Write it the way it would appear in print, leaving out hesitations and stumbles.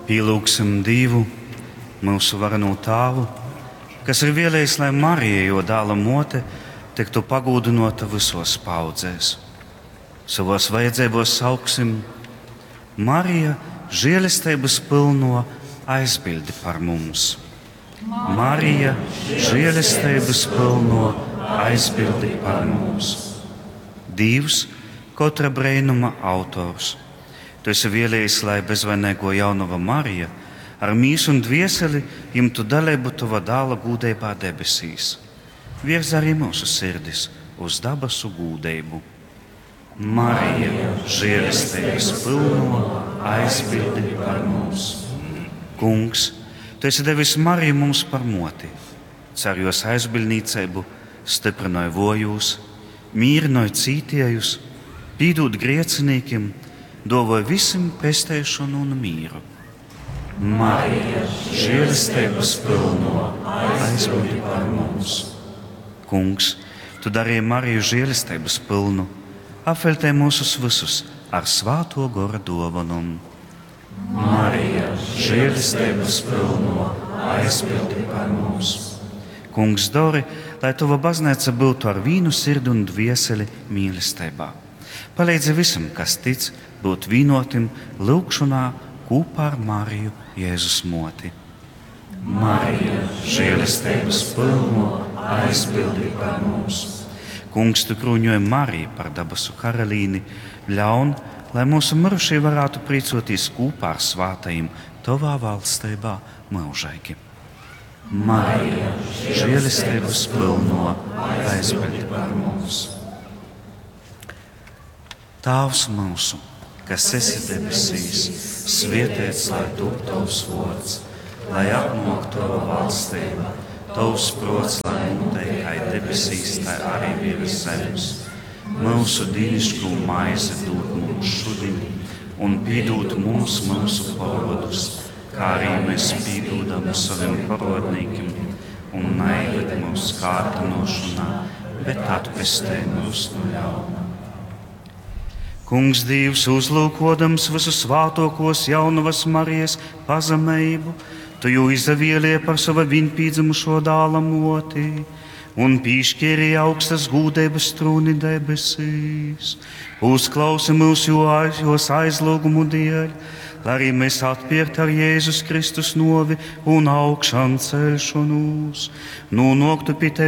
Pīlūgsim Dīvu, myusu varenū Tāvu, kas ir vēlējis, lai Marija, jo dēla mote, tiktu pagūdinota visos paudzēs. Savos vajadzībos sauksim Marija, žēlestības pilno aizbildi par mums. Marija, žēlestības pilno aizbildi par mums. Dievs, katra brēnuma autors. Tu esi vēlējis, lai bezvainīgo jaunava Marija ar mīsu un dvieseli imtu dalību tava dāla gūdeibā debesīs. Virz arī mūsu sirdis uz dabasu gūdeibu. Marija, žēlestības pilno, aizbildi par mums. Kungs, tu esi devis Mariju mums par moti. Cer jos aizbildnīcību, stiprinoj vojūs, mīrinoj cītiejus, pīdūt griecinīkim, dovoj visiem pesteišanu un mīru. Marija, žēlestības pilno, aizbildi par mums. Kungs, tu darīji Mariju žēlestības pilnu, apveltē mūsus visus ar svāto gora dovanumu. Marija, žēlestības pilno, aizpildi par mums. Kungs, dori, lai tava baznīca būtu ar vīnu sirdi un dvieseli mīlestībā. Palīdzi visam, kas tic, būt vienotim lūgšanā kopā ar Mariju Jēzus moti. Marija, žēlestības pilno, aizpildi par mums. Kungs, tu krūņoji Mariju par dabasu karalīni, ļaun, lai mūsu mirušie varētu priecoties kopā ar svātajiem tavā valstībā mūžīgi. Marija, žēlestības pilno, aizpildi par mums. Tēvs mūsu, kas esi debesīs, svētīts lai top tavs vārds, lai atnāk tava valstība, tavs prots, lai notiek kā debesīs, tā arī virs zemes. Mūsu dīnišķo maizi dod mums šodien, un piedod mums mūsu parodus, kā arī mēs piedodam saviem parodnīkiem, un neieved mūsu kārdinošanā, bet atpestē mūs no ļauna. Kungs Dievs, uzlūkodams visu svātokos jaunavas Marijas pazemību, tu jū izavēlie par sava vienpīdzemušo dāla moti un piešķīri augstas gūdības trūni debesīs. Uzklausi mūsu jos aizlūgumu dēļ, lai arī mēs atpirkt ar Jēzus Kristus novi un augšām celšanos, nonāktu pie tevis.